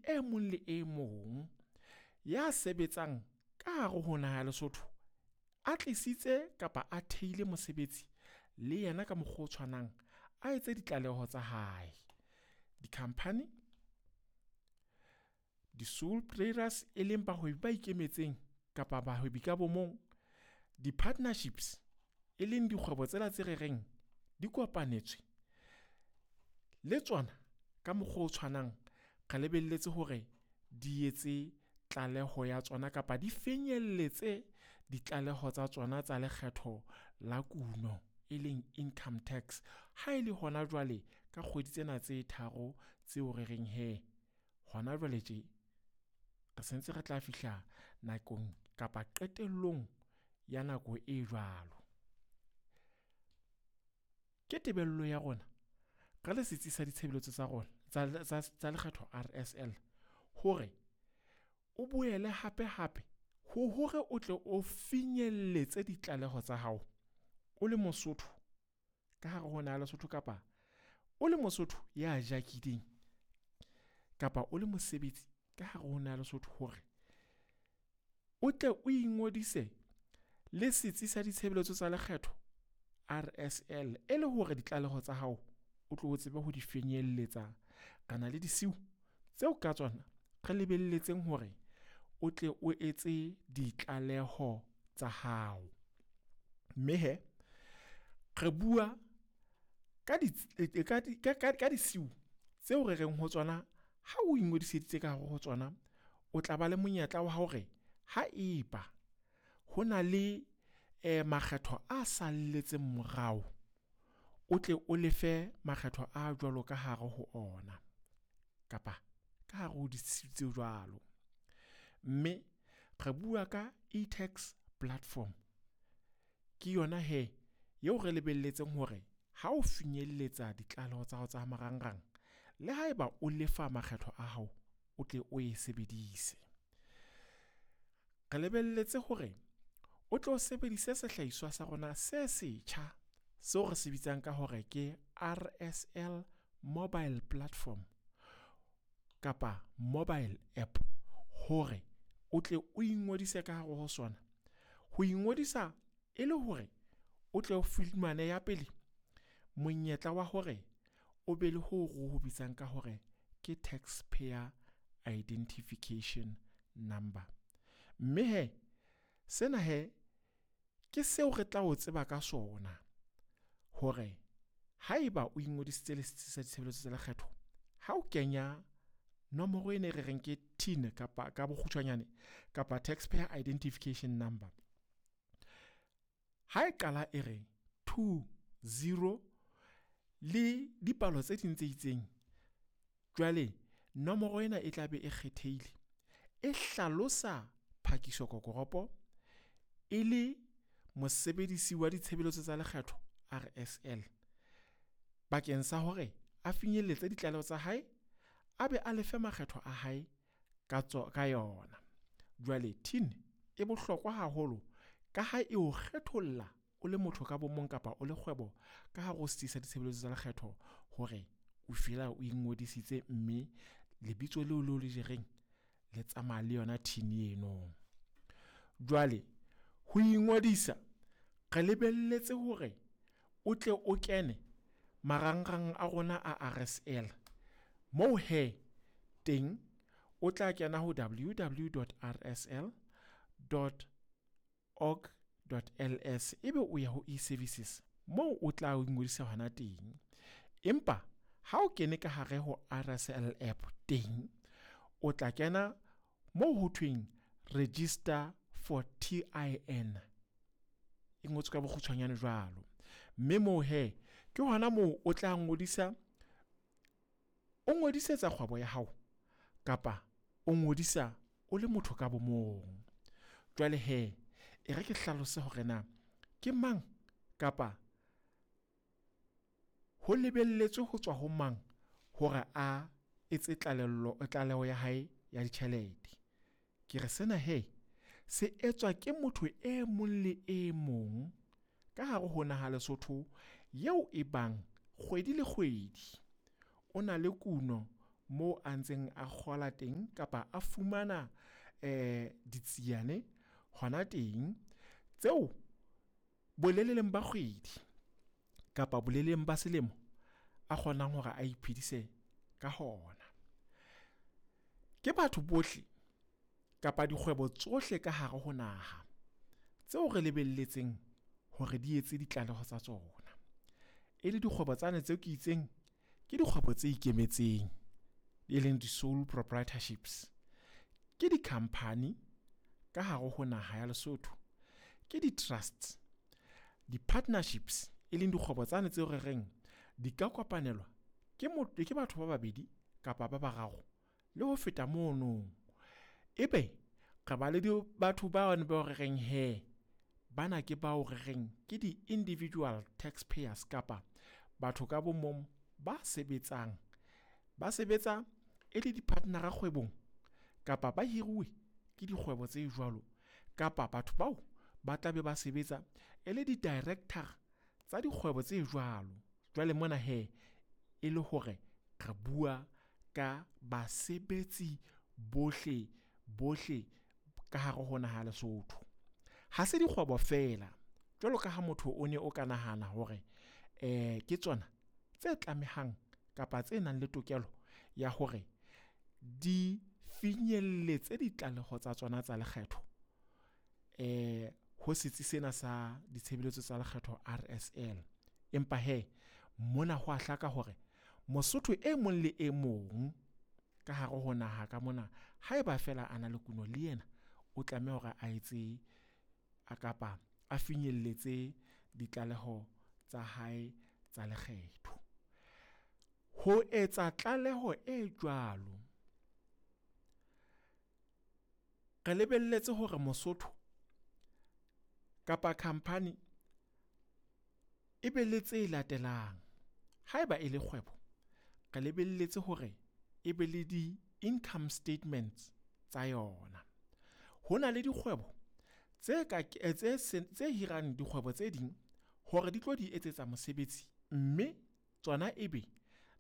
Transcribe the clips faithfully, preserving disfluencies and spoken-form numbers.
e mong le e mong ya sebetsang ka hare ho naha ya Lesotho a tlisitse kapa a theile mosebetsi le yena ka mokgwa o tshwanang a etse ditlaleho tsa hae. Di-company, di-sole traders e leng bahwebi ba ikemetseng kapa bahwebi ka bo mong, di-partnerships e leng dikgwebo tsela tse re reng di kopanetswe le tsona ka mokgwa o tshwanang re lebelletse hore di etse tlaleho ya tsona kapa di finyelletse ditlaleho tsa tsona tsa lekgetho la kuno e leng income tax ha e le hona jwale ka kgwedi tsena tse tharo tseo re reng he hona jwale tje re sentse re tla fihla nakong kapa qetellong ya nako e jwalo. Ke tebello ya rona re le setsi sa ditshebeletso tsa rona tsa tsa lekgetho R S L hore o boele hape hape ho hore o tle o finyelletse ditlaleho tsa hao o le Mosotho ka hare ho naha Lesotho kapa o le Mosotho ya jakileng kapa o le mosebetsi ka hare ho naha Lesotho hore o tle o ingodise le setsi sa ditshebeletso tsa lekgetho R S L e le hore ditlaleho tsa hao o tlo tsebe ho di finyelletsa. Re na le disiu tseo ka tsona re lebelletseng hore o tle o etse ditlaleho tsa hao. Mme he re bua ka di ka di ka disiu tseo re reng ho tsona ha o ingodiseditse ka hare ho tsona o tla ba le monyetla wa hore ha eba ho na le eh makgetho a salletseng morao o tle o lefe makgetho a jwalo ka hare ho ona kapa ka hare ho disiu tse jwalo. Mme re bua ka e-tax platform ke yona he eo re lebelletseng hore ha o finyelletsa ditlaleho tsa hao tsa marangrang le haeba o lefa makgetho a hao o tle o e sebedise. Re lebelletse hore o tlo sebedise sehlahiswa sa rona se setjha seo re se bitsang ka hore ke R S L mobile platform kapa mobile app hore o tle o ingodise ka hare ho sona. Ho ingodisa e le hore o tle o fumane ya pele monyetla wa hore o be le ho re ho bitsang ka hore ke taxpayer identification number. Mme he sena he ke seo re tla o tseba ka sona hore haeba o ingodisitse le setsi sa ditshebeletso tsa lekgetho ha o kenya nomoro ena e re reng ke T I N kapa ka bokgutshwanyane kapa taxpayer identification number, ha e qala e re two zero le dipalo tse ding tse itseng, jwale nomoro ena e tla be e kgethehile e hlalosa Phakiso Kokoropo e le mosebedisi wa ditshebeletso tsa lekgetho R S L bakeng sa hore a finyelletse ditlaleho tsa hae a be a lefe makgetho a hae ka tso ka yona. Jwale T I N e bohlokwa haholo ka ha e o kgetholla o le motho ka bomong kapa o le kgwebo ka hare ho setsi sa ditshebeletso tsa lekgetho hore o fela o ingodisitse mme lebitso leo leo le jereng le tsamaya le yona T I N eno. Jwale ho ingodisa re lebelletse hore o tle o kene marangrang a rona a R S L moo he teng o tla kena ho w w w dot r s l dot org dot l s ebe o ya ho e-services moo o tla ingodisa hona teng. Empa ha o kene ka hare ho R S L app teng o tla kena moo ho thweng register for T I N e ngotswe ka bokgutshwanyane jwalo. Mme moo he ke hona moo o tla ngodisa o ngodisetsa kgwebo ya hao kapa o ngodisa o le motho ka bomong. Jwale he e re ke hlalose hore na ke mang kapa ho lebelletswe ho tswa ho mang hore a etse tlalello tlaleho ya hae ya ditjhelete. Ke re sena he se etswa ke motho e mong le e mong ka hare ho naha Lesotho eo e bang kgwedi le kgwedi o na le kuno moo a ntseng a kgola teng kapa a fumana eh ditsiane hona teng tseo boleleleng ba kgwedi kapa boleleng ba selemo a kgonang hore a iphedise ka hona. Ke batho bohle kapa dikgwebo tsohle ka hare ho naha tseo re lebelletseng hore di etse ditlaleho tsa tsona. E le dikgwebo tsane tseo ke itseng ke dikgwebo tse ikemetseng, e leng di-sole proprietorships. Ke di-company ka hare ho naha ya Lesotho, ke di-trusts, di-partnerships, e leng dikgwebo tsane tseo re reng di ka kopanelwa ke ke batho ba babedi kapa ba bararo le ho feta mono. Ebe re ba le batho bano bao re reng hee bana ke bao re reng ke di-individual taxpayers kapa batho ka bo mong ba sebetsang. Ba sebetsa e le di-partner-a kgwebong kapa ba hiruwe ke dikgwebo tse jwalo, kapa batho bao ba tla be ba sebetsa e le di-director tsa dikgwebo tse jwalo. Jwale mona hee e le hore re bua ka basebetsi bohle bohle ka hare ho naha ya Lesotho. Ha se dikgwebo feela jwalo ka ha motho o ne o ka nahana hore eh ke tsona tse tlamehang kapa tse nang le tokelo ya hore di finyelletse ditlaleho tsa tsona tsa lekgetho eh ho setsi sena sa ditshebeletso tsa lekgetho R S L. Empa hee mona ho a hlaka hore Mosotho e mong le e mong ka hare ho naha ka mona, haeba feela a na le kuno le yena o tlameha hore a etse a kapa a finyelletse ditlaleho tsa hae tsa lekgetho. Ho etsa tlaleho e jwalo, re lebelletse hore Mosotho kapa khampani e be le tse latelang. Haeba e le kgwebo, re lebelletse hore e be le di-income statements tsa yona. Ho na le dikgwebo tse ka tse tse hirang dikgwebo tse ding hore di tlo di etsetsa mosebetsi, mme tsona ebe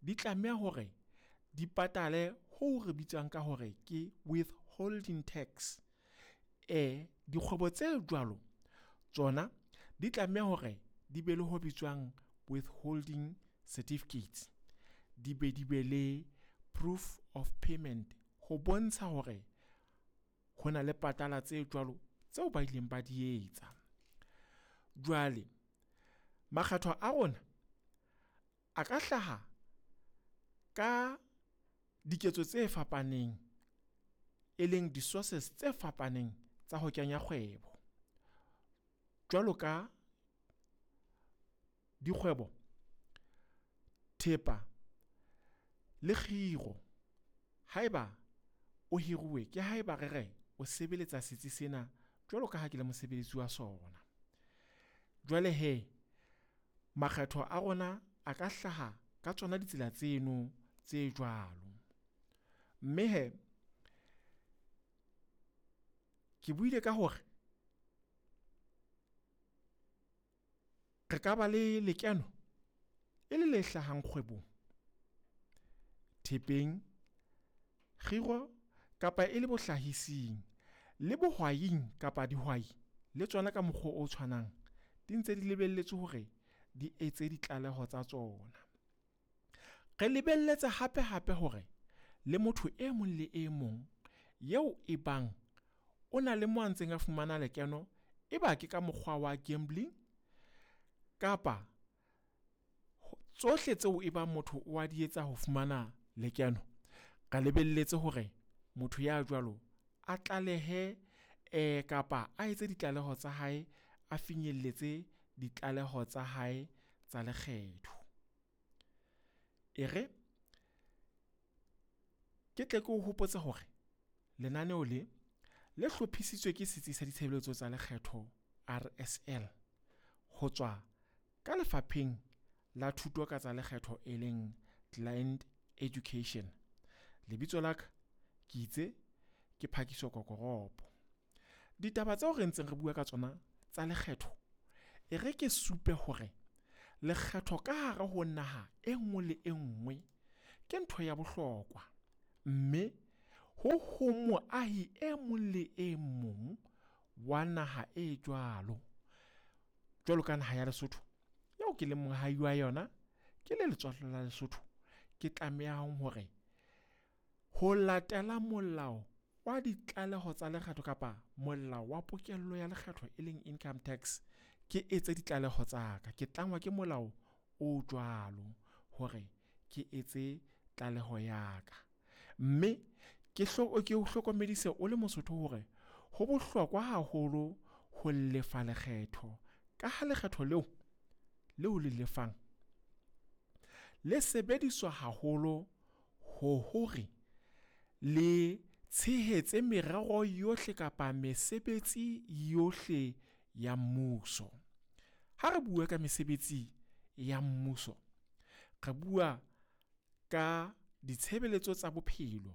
di tlameha hore di patale ho re bitswang ka hore ke withholding tax. Eh dikgwebo tse jwalo tsona di tlameha hore di be le ho bitswang withholding certificates, di be di be le proof of payment ho bontsha hore ho na le patala tse jwalo tseo ba ileng ba di etsa. Jwale makgetho a rona a ka hlaha ka diketso tse fapaneng, e leng di-sources tse fapaneng tsa ho kenya kgwebo. Jwalo ka dikgwebo, thepa le kgiro. Haeba o hiruwe ke haeba re re o sebeletsa setsi sena jwalo ka ha ke le mosebeletsi wa sona. Jwale he makgetho a rona a ka hlaha ka tsona ditsela tseno tse jwalo. Mme he ke buile ka hore re ka ba le lekeno e le le hlahang kgwebong, thepeng, kgiro kapa e le bohlahising le bohwaing kapa dihwai le tsona ka mokgwa o tshwanang di ntse di lebelletswe hore di etse ditlaleho tsa tsona. Re lebelletse hape hape hore le motho e mong le e mong eo e bang o na le mo a ntseng a fumana lekeno, e ba ke ka mokgwa wa gambling kapa tsohle tseo e bang motho o a di etsa ho fumana lekeno, re lebelletse hore motho ya jwalo a tlalehe eh kapa a etse ditlaleho tsa hae, a finyelletse ditlaleho tsa hae tsa lekgetho. E re ke tle ke o hopotse hore lenaneo le le hlophisitswe ke setsi sa ditshebeletso tsa lekgetho R S L ho tswa ka lefapheng la thuto ka tsa lekgetho e leng Client Education. Lebitso la ka ke itse ke Phakiso Kokoropo. Ditaba tseo re ntseng re bua ka tsona tsa lekgetho, e re ke supe hore lekgetho ka hare ho naha e nngwe le e nngwe ke ntho ya bohlokwa. Mme ho ho moahi e mong le e mong wa naha e jwalo, jwalo ka naha ya Lesotho eo ke leng moahi wa yona, ke le letswallwa la Lesotho, ke tlamehang hore ho latela molao wa ditlaleho tsa lekgetho kapa molao wa pokello ya lekgetho e leng income tax, ke etse ditlaleho tsa ka. Ke tlangwa ke molao o jwalo hore ke etse tlaleho ya ka. Mme ke ke o hlokomedise o le Mosotho hore ho bohlokwa haholo ho lefa lekgetho. Ka ha lekgetho leo, leo le lefang le sebediswa haholo ho hore le tshehetse merero yohle kapa mesebetsi yohle ya mmuso. Ha re bua ka mesebetsi ya mmuso, re bua ka ditshebeletso tsa bophelo,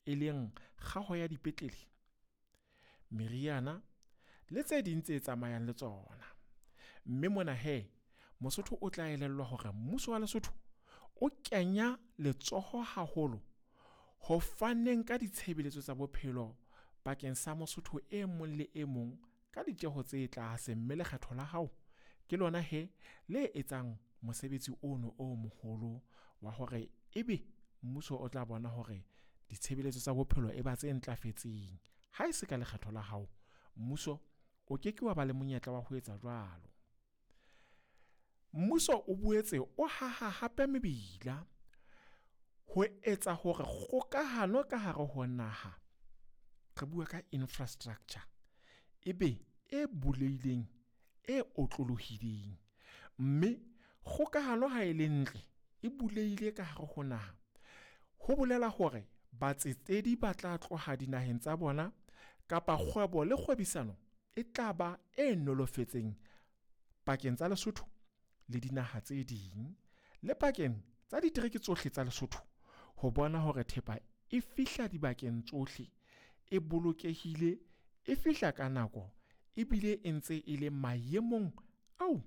e leng kgaho ya dipetlele, meriana le tse ding tse tsamayang le tsona. Mme mona hee, Mosotho o tla elellwa hore mmuso wa Lesotho o kenya letsoho haholo ho faneng ka ditshebeletso tsa bophelo bakeng sa Mosotho e mong le e mong ka ditjeho tse tlase. Mme lekgetho la hao ke lona hee le etsang mosebetsi ono o moholo wa hore ebe mmuso o tla bona hore ditshebeletso tsa bophelo e ba tse ntlafetseng. Ha e se ka lekgetho la hao, mmuso o ke ke wa ba le monyetla wa ho etsa jwalo. Mmuso o boetse o haha hape mebila ho etsa hore kgokahano ka hare ho naha, re bua ka infrastructure, ebe e bulehileng, e otlolohileng. Mme kgokahano ha e le ntle, e bulehile ka hare ho naha, ho bolela hore batsetedi ba tla tloha dinaheng tsa bona kapa kgwebo le kgwebisano e tla ba e nolofetseng pakeng tsa Lesotho le dinaha tse ding, le pakeng tsa ditereke tsohle tsa Lesotho ho bona hore thepa e fihla dibakeng tsohle, e bolokehile, e fihla ka nako ebile e ntse e le maemong ao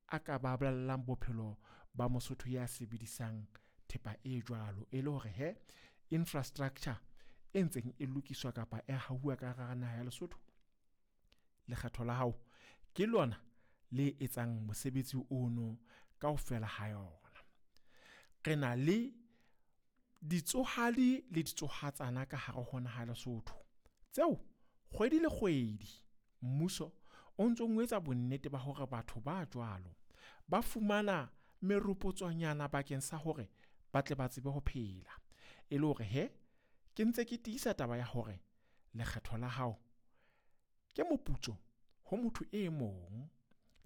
a ka baballang bophelo ba Mosotho ya sebedisang thepa e jwalo. E le hore he infrastructure e ntseng e lokiswa kapa e hauwa ka hara naha ya Lesotho, lekgetho la hao ke lona le etsang mosebetsi ono kaofela ha yona. Re na le ditsohadi le ditsohatsana ka hare ho naha ya Lesotho, tseo kgwedi le kgwedi mmuso o ntso o etsa bonnete ba hore batho ba jwalo ba fumana meropotsonyana bakeng sa hore ba tle ba tsebe ho phela. E le hore he, ke ntse ke tiisa taba ya hore lekgetho la hao ke moputso ho motho e mong.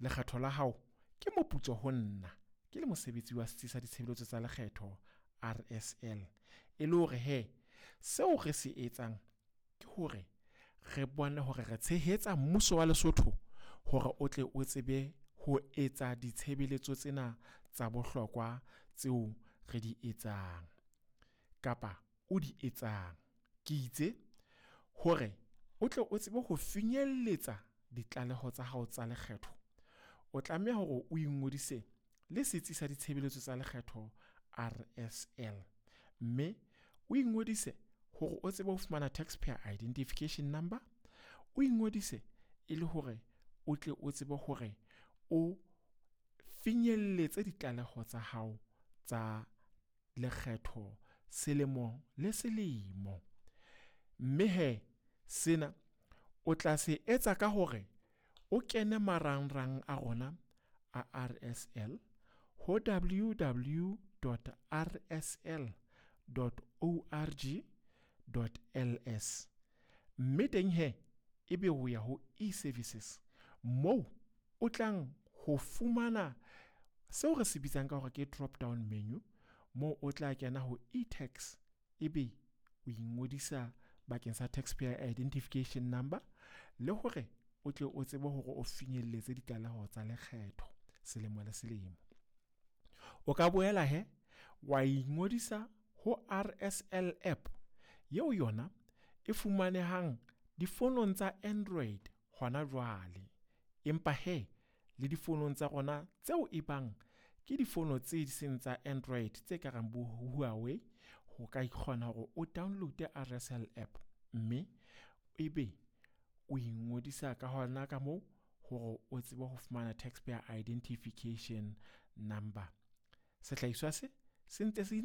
Lekgetho la hao ke moputso ho nna ke le mosebetsi wa setsi sa ditshebeletso tsa lekgetho R S L. E le hore he, seo re se etsang ke hore re bone hore re tshehetsa mmuso wa Lesotho hore o tle o tsebe ho etsa ditshebeletso tsena tsa bohlokwa tseo re di etsang kapa o di etsang. Ke itse hore o tle o tsebe ho finyelletsa ditlaleho tsa hao tsa lekgetho, o tlameha hore o ingodise le setsi sa ditshebeletso tsa lekgetho R S L. Mme o ingodise hore o tsebe ho fumana taxpayer identification number, o ingodise e le hore o tle o tsebe hore o finyelletse ditlaleho tsa hao tsa lekgetho selemo le selemo. Mme he, sena o tla se etsa ka hore o kene marangrang a rona a R S L ho w w dot r s l dot org dot l s. Mme teng he, ebe o ya ho e-services moo o tlang ho fumana seo re se bitsang ka hore ke drop down menu, moo o tla kena ho e-tax ebe o ingodisa bakeng sa taxpayer identification number le hore o tle o tsebe hore o finyelletse ditlaleho tsa lekgetho selemo le selemo. O ka boela he wa ingodisa ho R S L app yeo yona e fumanehang difonong tsa Android hona jwale. Empa he le difonong tsa rona tseo e bang ke difono tse seng tsa Android tse ka reng bo Huawei, Ho ka kgona hore o download R S L app, mme ebe o ingodisa ka hona ka moo hore o tsebe ho fumana taxpayer identification number. Sehlahiswa se se ntse se